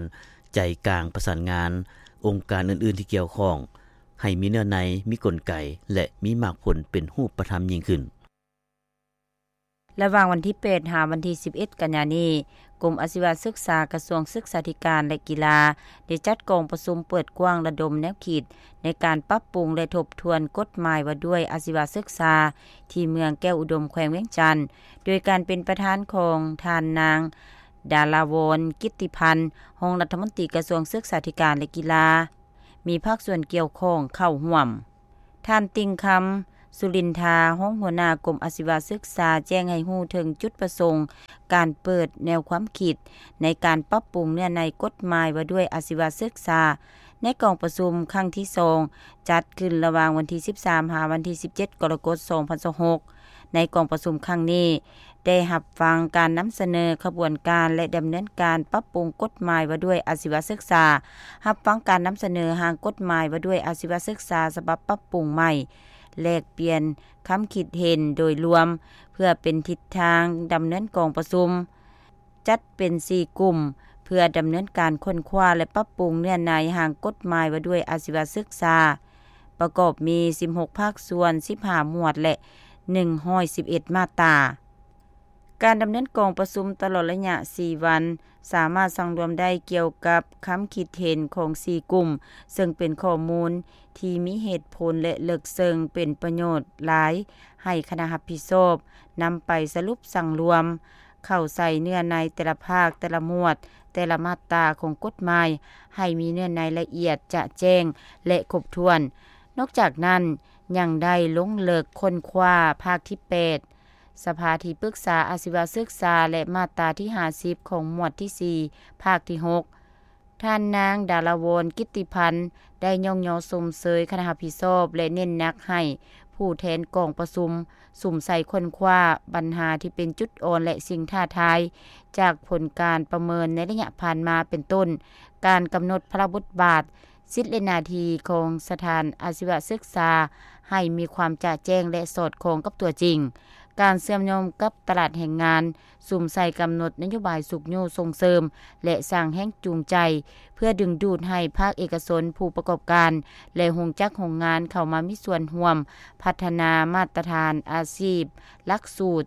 ໃຈກາງປະສານງານ, ອົງການອື່ນໆທີ່ກ່ຽວຂ້ອງ, ໃຫ້ມີເນື້ອໃນ, ມີກົນໄກ ແລະ ມີໝາກຜົນເປັນຮູບປະທຳຍິ່ງຂຶ້ນ. ລະຫວ່າງວັນທີແປດ ຫາວັນທີສິບເອັດ ກັນຍານີ້, ກົມອາຊີວະສຶກສາ ກະຊວງສຶກສາທິການ ແລະ ກິລາ ໄດ້ຈັດກອງປະຊຸມເປີດກວ້າງລະດົມແນວຄິດໃນການປັບປຸງ ແລະ ທົບທວນກົດໝາຍວ່າດ້ວຍອາຊີວະສຶກສາ ທີ່ເມືອງແກ້ວອຸດົມ ແຂວງວຽງຈັນ, ໂດຍການເປັນປະທານຂອງທ່ານນາງ ດາລາວອນ ກິດຕິພັນ ຮອງລັດຖະມົນຕີກະຊວງສຶກສາທິການ ແລະ ກິລາ, ມີພາກສ່ວນກ່ຽວຂ້ອງເຂົ້າຮ່ວມ. ທ່ານ ຕິ່ງຄຳ ສຸລິນທາ ຮອງຫົວໜ້າກົມອາຊີວະສຶກສາ ແຈ້ງໃຫ້ຮູ້ເຖິງຈຸດປະສົງການເປີດແນວຄວາມຄິດໃນການປັບປຸງເນື້ອໃນກົດໝາຍວ່າດ້ວຍອາຊີວະສຶກສາ ໃນກອງປະຊຸມຄັ້ງທີສອງ ຈັດຂຶ້ນລະຫວ່າງວັນທີສິບສາມ ຫາວັນທີສິບເຈັດ ກໍລະກົດ ສອງພັນຊາວຫົກ. ໃນກອງປະຊຸມຄັ້ງນີ້ ໄດ້ຮັບຟັງການນຳສະເໜີຂະບວນການ ແລະ ດຳເນີນການປັບປຸງກົດໝາຍວ່າດ້ວຍອາຊີວະສຶກສາ, ຮັບຟັງການນຳສະເໜີຮ່າງກົດໝາຍວ່າດ້ວຍອາຊີວະສຶກສາສະບັບປັບປຸງໃໝ່, ແລກປ່ຽນຄຳຄິດເຫັນໂດຍລວມ ເພື່ອເປັນທິດທາງດຳເນີນກອງປະຊຸມ, ຈັດເປັນສີ່ກຸ່ມ ເພື່ອດຳເນີນການຄົ້ນຄວ້າ ແລະ ປັບປຸງເນື້ອໃນຮ່າງກົດໝາຍວ່າດ້ວຍອາຊີວະສຶກສາ, ປະກອບມີສິບຫົກພາກສ່ວນ, ສິບຫ້າໝວດ ແລະ ໜຶ່ງຮ້ອຍສິບເອັດມາດຕາ. ການດຳເນີນກອງປະຊຸມຕະຫຼອດໄລຍະສີ່ວັນ ສາມາດສັງລວມໄດ້ກ່ຽວກັບຄຳຄິດເຫັນຂອງສີ່ກຸ່ມ, ເຊິ່ງເປັນຂໍ້ມູນທີ່ມີເຫດຜົນ ແລະ ເລິກເຊິ່ງ, ເປັນປະໂຫຍດຫຼາຍໃຫ້ຄະນະຮັບຜິດຊອບນຳໄປສະຫຼຸບສັງລວມເຂົ້າໃສ່ເນື້ອໃນແຕ່ລະພາກ, ແຕ່ລະໝວດ, ແຕ່ລະມາດຕາຂອງກົດໝາຍ ໃຫ້ມີເນື້ອໃນລະອຽດຈະແຈ້ງ ແລະ ຄົບຖ້ວນ. ນອກຈາກນັ້ນ, ຍັງໄດ້ລົງເລິກຄົ້ນຄວ້າພາກທີແປດ ສະພາທີ່ປຶກສາອາຊີວະສຶກສາ ແລະ ມາດຕາທີຫ້າສິບຂອງໝວດທີສີ່ ພາກທີຫົກ. ທ່ານນາງ ດາລາວອນ ກິດຕິພັນ ໄດ້ຍ້ອງຍໍຊົມເຊີຍຄະນະຮັບຜິດຊອບ ແລະ ເນັ້ນໜັກໃຫ້ຜູ້ແທນກອງປະຊຸມສຸມໃສ່ຄົ້ນຄວ້າບັນຫາທີ່ເປັນຈຸດອ່ອນ ແລະ ສິ່ງທ້າທາຍຈາກຜົນການປະເມີນໃນໄລຍະຜ່ານມາ ເປັນຕົ້ນ ການກຳນົດພາລະບົດບາດ, ສິດ ແລະ ໜ້າທີ່ຂອງສະຖານອາຊີວະສຶກສາໃຫ້ມີຄວາມຈະແຈ້ງ ແລະ ສອດຄ່ອງກັບຕົວຈິງ, ການເຊື່ອມໂຍງກັບຕະຫຼາດແຮງງານ, ສຸມໃສ່ກຳນົດນະໂຍບາຍຊຸກຍູ້ສົ່ງເສີມ ແລະ ສ້າງແຮງຈູງໃຈ ເພື່ອດຶງດູດໃຫ້ພາກເອກະຊົນ, ຜູ້ປະກອບການ ແລະ ໂຮງຈັກໂຮງງານເຂົ້າມາມີສ່ວນຮ່ວມພັດທະນາມາດຕະຖານອາຊີບ, ຫຼັກສູດ,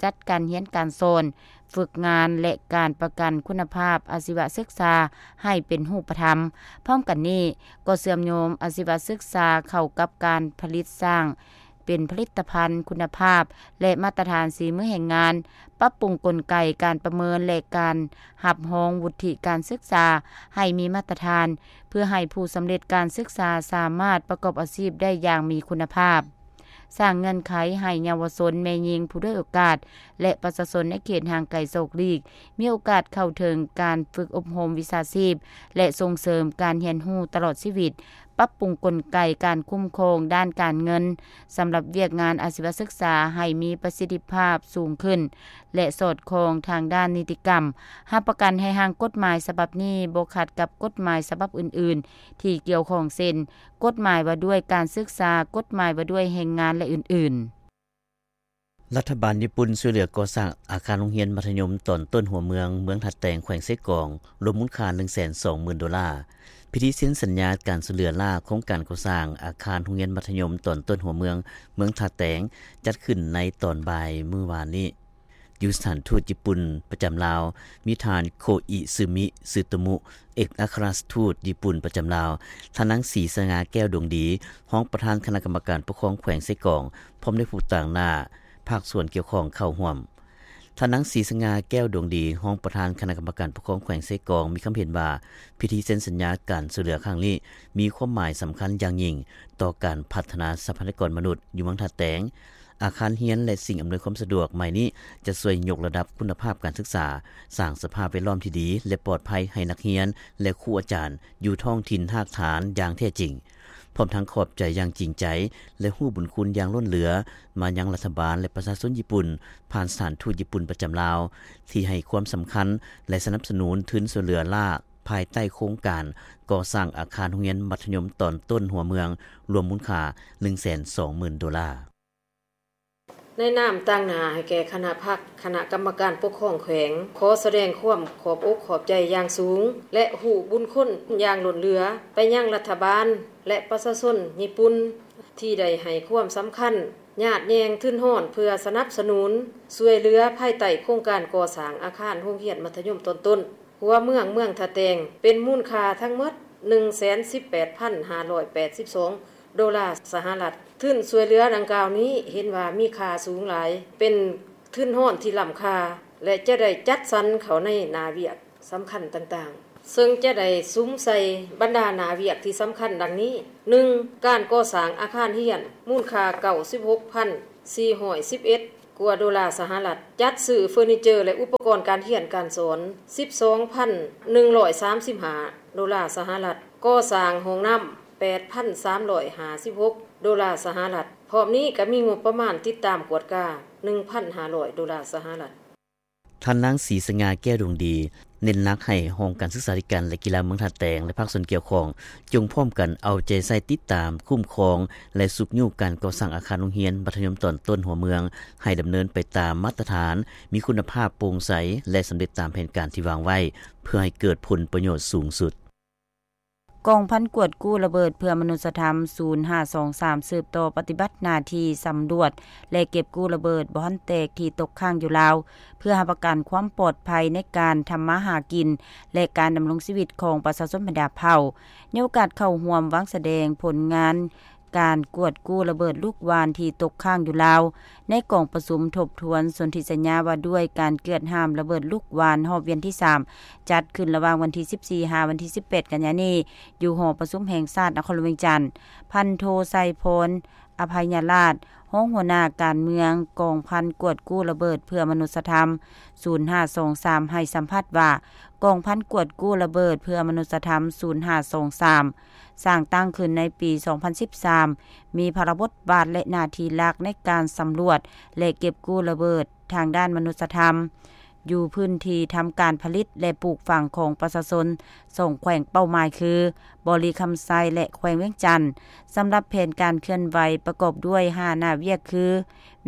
ຈັດການຮຽນການສອນ, ຝຶກງານ ແລະ ການປະກັນຄຸນນະພາບອາຊີວະສຶກສາໃຫ້ເປັນຮູບປະທຳ. ພ້ອມກັນນີ້, ກໍເຊື່ອມໂຍງອາຊີວະສຶກສາເຂົ້າກັບການຜະລິດສ້າງເປັນຜະລິດຕະພັນຄຸນນະພາບ ແລະ ມາດຕະຖານສີມືແຮງງານ, ປັບປຸງກົນໄກການປະເມີນ ແລະ ການຮັບຮອງວຸດທິການສຶກສາໃຫ້ມີມາດຕະຖານ, ເພື່ອໃຫ້ຜູ້ສຳເລັດການສຶກສາສາມາດປະກອບອາຊີບໄດ້ຢ່າງມີຄຸນນະພາບ. ສ້າງເງື່ອນໄຂໃຫ້ເຍົາວະຊົນ, ແມ່ຍິງ, ຜູ້ດ້ອຍໂອກາດ ແລະ ປະຊາຊົນໃນເຂດຫ່າງໄກສອກຫຼີກ ມີໂອກາດເຂົ້າເຖິງການຝຶກອົບຮົມວິຊາຊີບ ແລະ ສົ່ງເສີມການຮຽນຮູ້ຕະຫຼອດຊີວິດ, ປັບປຸງກົນໄກການຄຸ້ມຄອງດ້ານການເງິນ ສຳລັບວຽກງານອາຊີວະສຶກສາໃຫ້ມີປະສິດທິພາບສູງຂຶ້ນ ແລະ ສອດຄ່ອງທາງດ້ານນິຕິກຳ, ຮັບປະກັນໃຫ້ຮ່າງກົດໝາຍສະບັບນີ້ບໍ່ຂັດກັບກົດໝາຍສະບັບອື່ນໆ ທີ່ກ່ຽວຂ້ອງ ເຊັ່ນ ກົດໝາຍວ່າດ້ວຍການສຶກສາ, ກົດໝາຍວ່າດ້ວຍແຮງງານ ແລະ ອື່ນໆ. ລັດຖະບານຍີ່ປຸ່ນຊ່ວຍເຫຼືອກໍ່ສ້າງອາຄານໂຮງຮຽນມັດທະຍົມຕອນຕົ້ນຫົວເມືອງ ເມືອງທ່າແຕງ ແຂວງເຊກອງ ລວມມູນຄ່າໜຶ່ງແສນສອງໝື່ນໂດລາ. ພິທີເຊັນສັນຍາການຊ່ວຍເຫຼືອຫຼ້າໂຄງການກໍ່ສ້າງອາຄານໂຮງຮຽນມັດທະຍົມຕອນຕົ້ນຫົວເມືອງ ເມືອງທ່າແຕງ ຈັດຂຶ້ນໃນຕອນບ່າຍມື້ວານນີ້. ຢູ່ສະຖານທູດຍີ່ປຸ່ນປະຈຳລາວ ມີທ່ານ ໂຄອິຊຶມິ ຊຶໂຕມຸ ເອກອັກຄະລັດທູດຍີ່ປຸ່ນປະຈຳລາວ, ທ່ານນາງ ສີສະຫງ່າ ແກ້ວດວງດີ ຮອງປະທານຄະນະກຳມະການປົກຄອງແຂວງເຊກອງ ພ້ອມດ້ວຍຜູ້ຕາງໜ້າພາກສ່ວນກ່ຽວຂ້ອງເຂົ້າຮ່ວມ. ທ່ານນາງ ສີສະຫງ່າ ແກ້ວດວງດີ ຮອງປະທານຄະນະກຳມະການປົກຄອງແຂວງເຊກອງ ມີຄຳເຫັນວ່າ ພິທີເຊັນສັນຍາການຊ່ວຍເຫຼືອຄັ້ງນີ້ ມີຄວາມໝາຍສຳຄັນຢ່າງຍິ່ງຕໍ່ການພັດທະນາຊັບພະຍາກອນມະນຸດຢູ່ເມືອງທ່າແຕງ. ອາຄານຮຽນ ແລະ ສິ່ງອຳນວຍຄວາມສະດວກໃໝ່ນີ້ ຈະຊ່ວຍຍົກລະດັບຄຸນນະພາບການສຶກສາ, ສ້າງສະພາບແວດລ້ອມທີ່ດີ ແລະ ປອດໄພໃຫ້ນັກຮຽນ ແລະ ຄູອາຈານຢູ່ທ້ອງຖິ່ນຮາກຖານຢ່າງແທ້ຈິງ, ພ້ອມທັງຂອບໃຈຢ່າງຈິງໃຈ ແລະ ຮູ້ບຸນຄຸນຢ່າງລົ້ນເຫຼືອມາຍັງລັດຖະບານ ແລະ ປະຊາຊົນຍີ່ປຸ່ນ ຜ່ານສະຖານທູດຍີ່ປຸ່ນປະຈຳລາວ ທີ່ໃຫ້ຄວາມສຳຄັນ ແລະ ສະໜັບສະໜູນທຶນຊ່ວຍເຫຼືອລ້າ ພາຍໃຕ້ໂຄງການກໍ່ສ້າງອາຄານໂຮງຮຽນມັດທະຍົມຕອນຕົ້ນຫົວເມືອງ ລວມມູນຄ່າໜຶ່ງແສນສອງໝື່ນໂດລາ. ໃນນາມຕາງໜ້າໃຫ້ແກ່ຄະນະພັກ, ຄະນະກຳມະການປົກຄອງແຂວງ ຂໍສະແດງຄວາມຂອບອົກຂອບໃຈຢ່າງສູງ ແລະ ຮູ້ບຸນຄຸນຢ່າງລົ້ນເຫຼືອໄປຍັງລັດຖະບານ ແລະ ປະຊາຊົນຍີ່ປຸ່ນ ທີ່ໄດ້ໃຫ້ຄວາມສຳຄັນ ຍາດແຍ່ງທຶນຮອນ ເພື່ອສະໜັບສະໜູນຊ່ວຍເຫຼືອພາຍໃຕ້ໂຄງການກໍ່ສ້າງອາຄານໂຮງຮຽນມັດທະຍົມຕອນຕົ້ນ ຫົວເມືອງ ເມືອງທ່າແຕງ ເປັນມູນຄ່າທັງໝົດ ໜຶ່ງແສນສິບແປດພັນຫ້າຮ້ອຍແປດສິບສອງໂດລາສະຫະລັດ. ທຶນຊ່ວຍເຫຼືອດັ່ງກ່າວນີ້ເຫັນວ່າມີຄ່າສູງຫຼາຍ, ເປັນທຶນຮອນທີ່ລ້ຳຄ່າ ແລະ ຈະໄດ້ຈັດສັນເຂົ້າໃນໜ້າວຽກສຳຄັນຕ່າງໆ, ເຊິ່ງຈະໄດ້ສຸມໃສ່ບັນດາໜ້າວຽກທີ່ສຳຄັນດັ່ງນີ້: ໜຶ່ງ, ການກໍ່ສ້າງອາຄານຮຽນ ມູນຄ່າເກົ້າສິບຫົກພັນສີ່ຮ້ອຍສິບເອັດ ກວ່າໂດລາສະຫະລັດ, ຈັດຊື້ເຟີນີເຈີ ແລະ ອຸປະກອນການຮຽນການສອນ ສິບສອງພັນໜຶ່ງຮ້ອຍສາມສິບຫ້າໂດລາສະຫະລັດ, ກໍ່ສ້າງຫ້ອງນ້ຳ ແປດພັນສາມຮ້ອຍຫ້າສິບຫົກໂດລາສະຫະລັດ. ພ້ອມນີ້ກໍມີງົບປະມານຕິດຕາມກວດກາ ໜຶ່ງພັນຫ້າຮ້ອຍໂດລາສະຫະລັດ. ທ່ານນາງ ສີສະຫງ່າ ແກ້ວດວງດີ ເນັ້ນໜັກໃຫ້ຫ້ອງການສຶກສາທິການ ແລະ ກິລາເມືອງທ່າແຕງ ແລະ ພາກສ່ວນກ່ຽວຂ້ອງ ຈົ່ງພ້ອມກັນເອົາໃຈໃສ່ຕິດຕາມ, ຄຸ້ມຄອງ ແລະ ຊຸກຍູ້ການກໍ່ສ້າງອາຄານໂຮງຮຽນມັດທະຍົມຕອນຕົ້ນຫົວເມືອງ ໃຫ້ດຳເນີນໄປຕາມມາດຕະຖານ, ມີຄຸນນະພາບ, ໂປ່ງໃສ ແລະ ສຳເລັດຕາມແຜນການທີ່ວາງໄວ້ ເພື່ອໃຫ້ເກີດຜົນປະໂຫຍດສູງສຸດ. ກອງພັນກວດກູ້ລະເບີດເພື່ອມະນຸດສະທຳ ສູນຫ້າສອງສາມ ສືບຕໍ່ປະຕິບັດໜ້າທີ່ສຳຫຼວດ ແລະ ເກັບກູ້ລະເບີດບໍ່ທັນແຕກທີ່ຕົກຄ້າງຢູ່ລາວ ເພື່ອຮັບປະກັນຄວາມປອດໄພໃນການທຳມາຫາກິນ ແລະ ການດຳລົງຊີວິດຂອງປະຊາຊົນບັນດາເຜົ່າ ໃນໂອກາດເຂົ້າຮ່ວມວາງສະແດງຜົນງານການກວດກູ້ລະເບີດລູກຫວ່ານທີ່ຕົກຄ້າງຢູ່ລາວ ໃນກອງປະຊຸມທົບທວນສົນທິສັນຍາວ່າດ້ວຍການເກືອດຫ້າມລະເບີດລູກຫວ່ານຮອບວຽນທີສາມ ຈັດຂຶ້ນລະຫວ່າງວັນທີສິບສີ່ ຫາ ວັນທີສິບແປດ ກັນຍານີ້ ຢູ່ຫໍປະຊຸມແຫ່ງຊາດນະຄອນຫຼວງວຽງຈັນ. ພັນໂທ ໄຊພອນ ອະໄພຍະລາດ ຮອງຫົວໜ້າການເມືອງກອງພັນກວດກູ້ລະເບີດເພື່ອມະນຸດສະທຳ ສູນຫ້າສອງສາມ ໃຫ້ສຳພາດວ່າ ກອງພັນກວດກູ້ລະເບີດເພື່ອມະນຸດສະທຳ ສູນຫ້າສອງສາມ ສ້າງຕັ້ງຂຶ້ນໃນປີສອງພັນສິບສາມ ມີພາລະບົດບາດ ແລະ ໜ້າທີ່ຫຼັກໃນການສຳຫຼວດ ແລະ ເກັບກູ້ລະເບີດທາງດ້ານມະນຸດສະທຳ ຢູ່ພື້ນທີ່ທຳການຜະລິດ ແລະ ປູກຝັງຂອງປະຊາຊົນສອງແຂວງເປົ້າໝາຍຄື ບໍລິຄຳໄຊ ແລະ ແຂວງວຽງຈັນ. ສຳລັບແຜນການເຄື່ອນໄຫວປະກອບດ້ວຍຫ້າໜ້າວຽກຄື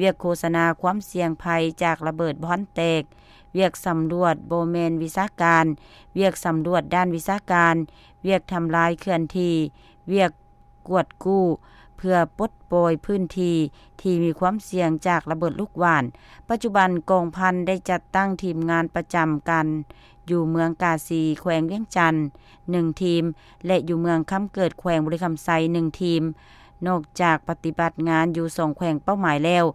ວຽກໂຄສະນາຄວາມສ່ຽງໄພຈາກລະເບີດບໍ່ທັນແຕກ, ວຽກສຳຫຼວດບໍ່ແມ່ນວິຊາການ, ວຽກສຳຫຼວດດ້ານວິຊາການ, ວຽກທຳລາຍເຄື່ອນທີ່, ວຽກກວດກູ້ ເພື່ອປົດປ່ອຍພື້ນທີ່ທີ່ມີຄວາມສ່ຽງຈາກລະເບີດລູກຫວ່ານ. ປັດຈຸບັນກອງພັນໄດ້ຈັດຕັ້ງທີມງານປະຈຳການຢູ່ເມືອງກາສີ ແຂວງວຽງຈັນ ໜຶ່ງທີມ ແລະ ຢູ່ເມືອງຄຳເກີດ ແຂວງບໍລິຄຳໄຊ ໜຶ່ງທີມ. ນອກຈາກປະຕິບັດງານຢູ່ສອງແຂວງເປົ້າໝາຍແລ້ວ,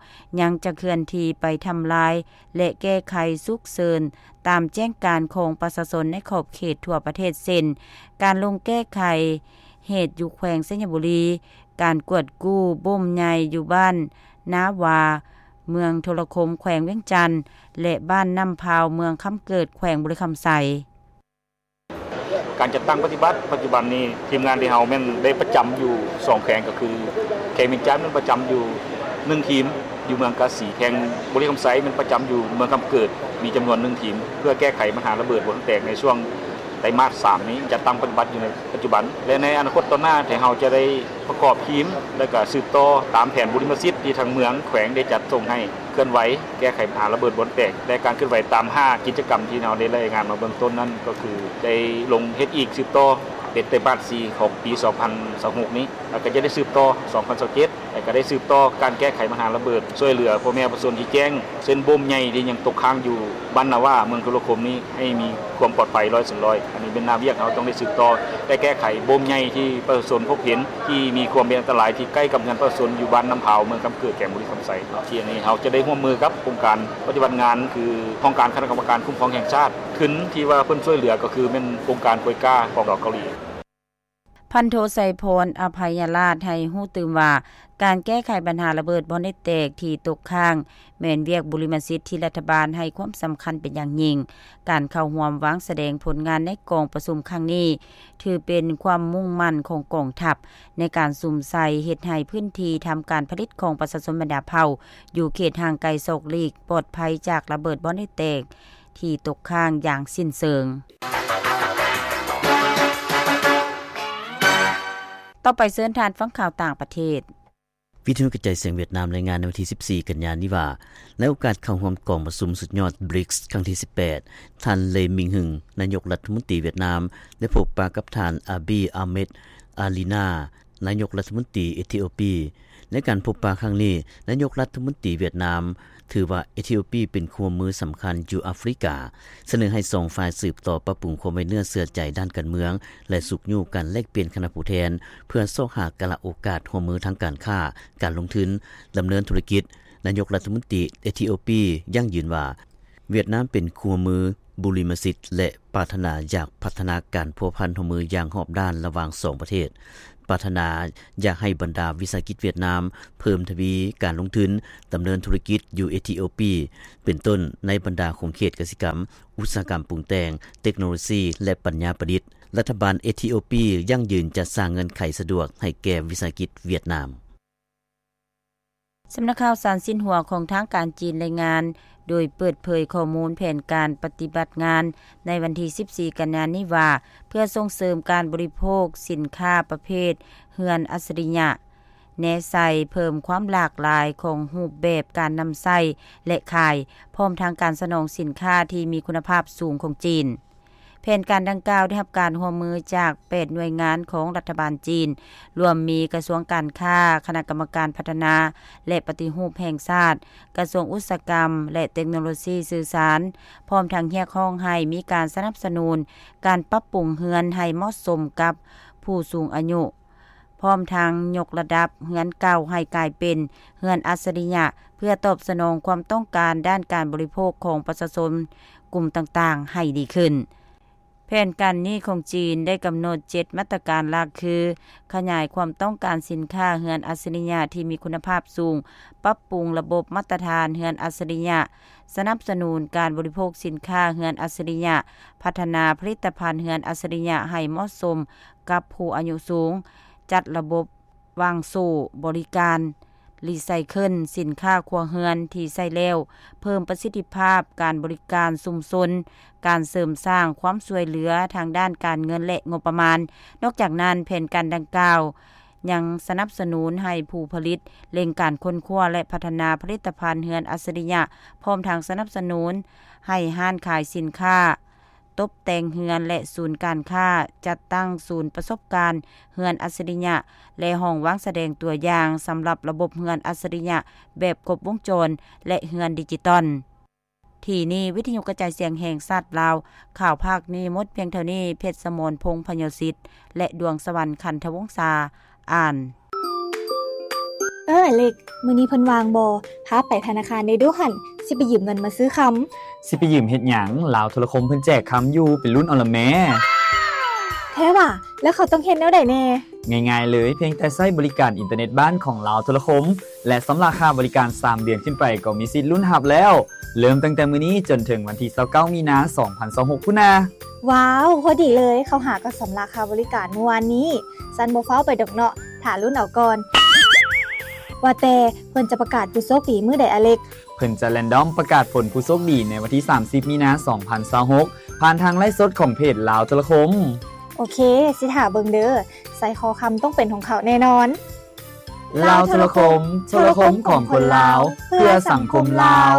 ຍັງຈະເຄື່ອນທີ່ໄປທຳລາຍ ແລະ ແກ້ໄຂສຸກເສີນຕາມແຈ້ງການຂອງປະຊາຊົນໃນຂອບເຂດທົ່ວປະເທດ ເຊັ່ນ ການລົງແກ້ໄຂເຫດຢູ່ແຂວງໄຊຍະບູລີ, ການກວດກູ້ບົ່ມໃຫຍ່ຢູ່ບ້ານນາວາ ເມືອງໂທລະຄົມ ແຂວງວຽງຈັນ ແລະ ບ້ານນ້ຳພາວ ເມືອງຄຳເກີດ ແຂວງບໍລິຄຳໄຊ. ການຈັດຕັ້ງປະຕິບັດ ປັດຈຸບັນນີ້ ທີມງານທີ່ເຮົາແມ່ນໄດ້ປະຈຳຢູ່ສອງແຂວງ ກໍຄືແຂວງວຽງຈັນແມ່ນປະຈຳຢູ່ໜຶ່ງທີມ ຢູ່ເມືອງກາສີ, ແຂວງບໍລິຄຳໄຊແມ່ນປະຈຳຢູ່ເມືອງຄຳເກີດ ມີຈຳນວນໜຶ່ງທີມ ເພື່ອແກ້ໄຂບັນຫາລະເບີດບໍ່ທັນແຕກໃນຊ່ວງໄຕມາດສາມນີ້ ຈັດຕັ້ງປະຕິບັດຢູ່ໃນປັດຈຸບັນ ແລະ ໃນອະນາຄົດຕໍ່ໜ້າທີ່ເຮົາຈະໄດ້ປະກອບທີມ ແລະ ກະສືບຕໍ່ຕາມແຜນບຸລິມະສິດທີ່ທາງເມືອງແຂວງໄດ້ຈັດສົ່ງໃຫ້ ເຄື່ອນໄຫວແກ້ໄຂບັນຫາລະເບີດບໍ່ແຕກ ແລະ ການເຄື່ອນໄຫວຕາມຫ້າກິດຈະກຳທີ່ເຮົາໄດ້ລາຍງານມາເບື້ອງຕົ້ນນັ້ນ ກໍຄືໄດ້ລົງເຮັດອີກສືບຕໍ່ເປັນໄຕມາດສີ່ຂອງປີສອງພັນຊາວຫົກນີ້ ແລ້ວກໍຈະໄດ້ສືບຕໍ່ສອງພັນຊາວເຈັດ ແລ້ວກໍໄດ້ສືບຕໍ່ການແກ້ໄຂບັນຫາລະເບີດ ຊ່ວຍເຫຼືອພໍ່ແມ່ປະຊາຊົນທີ່ແຈ້ງ ເຊັ່ນ ບົ່ມໃຫຍ່ທີ່ຍັງຕົກຄ້າງຢູ່ບ້ານນາວາ ເມືອງທຸລະຄົມນີ້ ໃຫ້ມີຄວາມປອດໄພຮ້ອຍສ່ວນຮ້ອຍ. ອັນນີ້ເປັນໜ້າວຽກເຮົາຕ້ອງໄດ້ສືບຕໍ່ ແລະ ແກ້ໄຂບົ່ມໃຫຍ່ທີ່ປະຊາຊົນພົບເຫັນ ທີ່ມີຄວາມເປັນອັນຕະລາຍທີ່ໃກ້ກັບເຮືອນປະຊາຊົນຢູ່ບ້ານນ້ຳພາວ ເມືອງຄຳເກີດ ແຂວງບໍລິຄຳໄຊເນາະ. ທີ່ອັນນີ້ເຮົາຈະໄດ້ຮ່ວມມືກັບອົງການປະຕິບັດງານ ຄືຫ້ອງການຄະນະກຳມະການຄຸ້ມຄອງແຫ່ງຊາດ. ທຶນທີ່ວ່າເພິ່ນຊ່ວຍເຫຼືອກໍຄືແມ່ນອົງການໂກຍກາຂອງເກົາຫຼີ. ພັນໂທ ໄຊພອນ ອະໄພຍະລາດ ໃຫ້ຮູ້ຕື່ມວ່າ ການແກ້ໄຂບັນຫາລະເບີດບໍ່ໄດ້ແຕກທີ່ຕົກຄ້າງ ແມ່ນວຽກບຸລິມະສິດທີ່ລັດຖະບານໃຫ້ຄວາມສຳຄັນເປັນຢ່າງຍິ່ງ. ການເຂົ້າຮ່ວມວາງສະແດງຜົນງານໃນກອງປະຊຸມຄັ້ງນີ້ ຖືເປັນຄວາມມຸ່ງໝັ້ນຂອງກອງທັບ ໃນການສຸມໃສ່ເຮັດໃຫ້ພື້ນທີ່ທຳການຜະລິດຂອງປະຊາຊົນບັນດາເຜົ່າ ຢູ່ເຂດຫ່າງໄກສອກຫຼີກ ປອດໄພຈາກລະເບີດບໍ່ໄດ້ແຕກທີ່ຕົກຄ້າງຢ່າງສິ້ນເຊີງ. ຕໍ່ໄປເຊີນທ່ານຟັງຂ່າວຕ່າງປະເທດ. ວິທະຍຸກະຈາຍສຽງຫວຽດນາມລາຍງານໃນວັນທີສິບສີ່ ກັນຍານີ້ວ່າ ໃນໂອກາດເຂົ້າຮ່ວມກອງປະຊຸມສຸດຍອດ ບຣິກສ໌ ຄັ້ງທີສິບແປດ ທ່ານ ເລ ມິງຮຶງ ນາຍົກລັດຖະມົນຕີຫວຽດນາມ ໄດ້ພົບປະກັບທ່ານ ອາບີ ອາເມັດ ອາລີນາ ນາຍົກລັດຖະມົນຕີເອທິໂອປີ. ໃນການພົບປະຄັ້ງນີ້, ນາຍົກລັດຖະມົນຕີຫວຽດນາມ ຖືວ່າເອທິໂອປີເປັນຄູ່ຮ່ວມມືສຳຄັນຢູ່ອາຟຣິກາ, ສະເໜີໃຫ້ສອງຝ່າຍສືບຕໍ່ປັບປຸງຄວາມໄວ້ເນື້ອເຊື່ອໃຈດ້ານການເມືອງ ແລະ ຊຸກຍູ້ການແລກປ່ຽນຄະນະຜູ້ແທນ ເພື່ອຊອກຫາກາລະໂອກາດຮ່ວມມືທາງການຄ້າ, ການລົງທຶນ, ດຳເນີນທຸລະກິດ. ນາຍົກລັດຖະມົນຕີເອທິໂອປີຢັ້ງຢືນວ່າ ຫວຽດນາມເປັນຄູ່ຮ່ວມມືບຸລິມະສິດ ແລະ ປາດຖະໜາຢາກພັດທະນາການພົວພັນຮ່ວມມືຢ່າງຮອບດ້ານລະຫວ່າງສອງປະເທດ, ປາດຖະໜາຢາກໃຫ້ບັນດາວິສາຫະກິດຫວຽດນາມເພີ່ມທະວີການລົງທຶນດຳເນີນທຸລະກິດຢູ່ເອທິໂອປີ, ເປັນຕົ້ນໃນບັນດາຂົງເຂດກະສິກຳ, ອຸດສາຫະກຳປຸງແຕ່ງ, ເຕັກໂນໂລຊີ ແລະ ປັນຍາປະດິດ. ລັດຖະບານເອທິໂອປີຢັ້ງຢືນຈະສ້າງເງື່ອນໄຂສະດວກໃຫ້ແກ່ວິສາຫະກິດຫວຽດນາມ. ສຳນັກຂ່າວສານຊິນຫົວຂອງທາງການຈີນລາຍງານ ໂດຍເປີດເຜີຍຂໍ້ມູນແຜນການປະຕິບັດງານໃນວັນທີສິບສີ່ ກັນຍານີ້ວ່າ ເພື່ອສົ່ງເສີມການບໍລິໂພກສິນຄ້າປະເພດເຮືອນອັດສະລິຍະ, ແນໃສ່ເພີ່ມຄວາມຫຼາກຫຼາຍຂອງຮູບແບບການນຳໃຊ້ ແລະ ຂາຍ, ພ້ອມທັງການສະໜອງສິນຄ້າທີ່ມີຄຸນນະພາບສູງຂອງຈີນ. ແຜນການດັ່ງກ່າວໄດ້ຮັບການຮ່ວມມືຈາກແປດໜ່ວຍງານຂອງລັດຖະບານຈີນ, ລວມມີກະຊວງການຄ້າ, ຄະນະກຳມະການພັດທະນາ ແລະ ປະຕິຮູບແຫ່ງຊາດ, ກະຊວງອຸດສາຫະກຳ ແລະ ເຕັກໂນໂລຊີສື່ສານ, ພ້ອມທັງຮຽກຮ້ອງໃຫ້ມີການສະໜັບສະໜູນການປັບປຸງເຮືອນໃຫ້ເໝາະສົມກັບຜູ້ສູງອາຍຸ. ພ້ອມທັງຍົກລະດັບເຮືອນເກົ່າໃຫ້ກາຍເປັນເຮືອນອັດສະລິຍະ ເພື່ອຕອບສະໜອງຄວາມຕ້ອງການດ້ານການບໍລິໂພກຂອງປະຊາຊົນກຸ່ມຕ່າງໆໃຫ້ດີຂຶ້ນ. ແຜນການນີ້ຂອງຈີນໄດ້ກຳນົດເຈັດມາດຕະການຫຼັກ ຄື ຂະຫຍາຍຄວາມຕ້ອງການສິນຄ້າເຮືອນອັດສະລິຍະທີ່ມີຄຸນນະພາບສູງ, ປັບປຸງລະບົບມາດຕະຖານເຮືອນອັດສະລິຍະ, ສະໜັບສະໜູນການບໍລິໂພກສິນຄ້າເຮືອນອັດສະລິຍະ, ພັດທະນາຜະລິດຕະພັນເຮືອນອັດສະລິຍະໃຫ້ເໝາະສົມ ກັບຜູ້ອາຍຸສູງ, ຈັດລະບົບຫວ່າງໂສ້ບໍລິການ, ຣີໄຊເຄິນສິນຄ້າຄົວເຮືອນທີ່ໃຊ້ແລ້ວ, ເພີ່ມປະສິດທິພາບການບໍລິການຊຸມຊົນ, ການເສີມສ້າງຄວາມຊ່ວຍເຫຼືອທາງດ້ານການເງິນ ແລະ ງົບປະມານ. ນອກຈາກນັ້ນ, ແຜນການດັ່ງກ່າວຍັງສະໜັບສະໜູນໃຫ້ຜູ້ຜະລິດເລັ່ງການຄົ້ນຄວ້າ ແລະ ພັດທະນາຜະລິດຕະພັນເຮືອນອັດສະລິຍະ, ພ້ອມທັງສະໜັບສະໜູນໃຫ້ຮ້ານຂາຍສິນຄ້າ ຕົບແຕ່ງເຮືອນ ແລະ ສູນການຄ້າ, ຈັດຕັ້ງສູນປະສົບການເຮືອນອັດສະລິຍະ ແລະ ຫ້ອງວາງສະແດງຕົວຢ່າງສຳລັບລະບົບເຮືອນອັດສະລິຍະແບບຄົບວົງຈອນ ແລະ ເຮືອນດິຈິຕອນ. ທີ່ນີ້ ວິທະຍຸກະຈາຍສຽງແຫ່ງຊາດລາວ, ຂ່າວພາກນີ້ໝົດພຽງເທົ່ານີ້. ເພັດສະໝອນ ພົງພະຍາສິດ ແລະ ດວງສະຫວັນ ຄັນທະວົງສາ ອ່ານ. ເອີ ອາເລັກ, ມື້ນີ້ເພິ່ນວ່າງບໍ່? ພາໄປທະນາຄານແດ່ດູຫັ້ນ, ຊິໄປຢືມເງິນມາຊື້ຄຳ. ຊິໄປຢືມເຮັດຫຍັງ? ລາວໂທລະຄົມເພິ່ນແຈກຄຳຢູ່, ໄປລຸ້ນເອົາລະແມ້. ແທ້ຫວາ? ແລ້ວເຂົາຕ້ອງເຮັດແນວໃດແດ່? ງ່າຍໆເລີຍ, ພຽງແຕ່ໃຊ້ບໍລິການອິນເຕີເນັດບ້ານຂອງລາວໂທລະຄົມ ແລະ ຊຳລະຄ່າບໍລິການສາມເດືອນຂຶ້ນໄປ ກໍມີສິດລຸ້ນຮັບແລ້ວ. ເລີ່ມຕັ້ງແຕ່ມື້ນີ້ຈົນເຖິງວັນທີຊາວເກົ້າ ມີນາ ສອງພັນຊາວຫົກ ພຸ້ນນາ. ວ້າວ, ພໍດີເລີຍ, ເຂົາຫາກໍຊຳລະຄ່າບໍລິການມື້ວານນີ້. ຊັ້ນບໍ່ຟ້າວໄປດອກເນາະ, ຖ້າລຸ້ນເອົາກ່ອນ. ວ່າແຕ່ເພິ່ນຈະປະກາດຜູ້ໂຊກດີມື້ໃດ, ອາເລັກ? ເພິ່ນຈະແຣນດອມປະກາດຜົນຜູ້ໂຊກດີໃນວັນທີສາມສິບ ມີນາ ສອງພັນຊາວຫົກ ຜ່ານທາງໄລຟ໌ສົດຂອງເພຈລາວໂທລະຄົມ. ໂອເຄ, ຊິຖ້າເບິ່ງເດີ. ໄຊຄໍຄຳຕ້ອງເປັນຂອງເຂົາແນ່ນອນ. ລາວໂທລະຄົມ, ໂທລະຄົມຂອງຄົນລາວ, ເພື່ອສັງຄົມລາວ.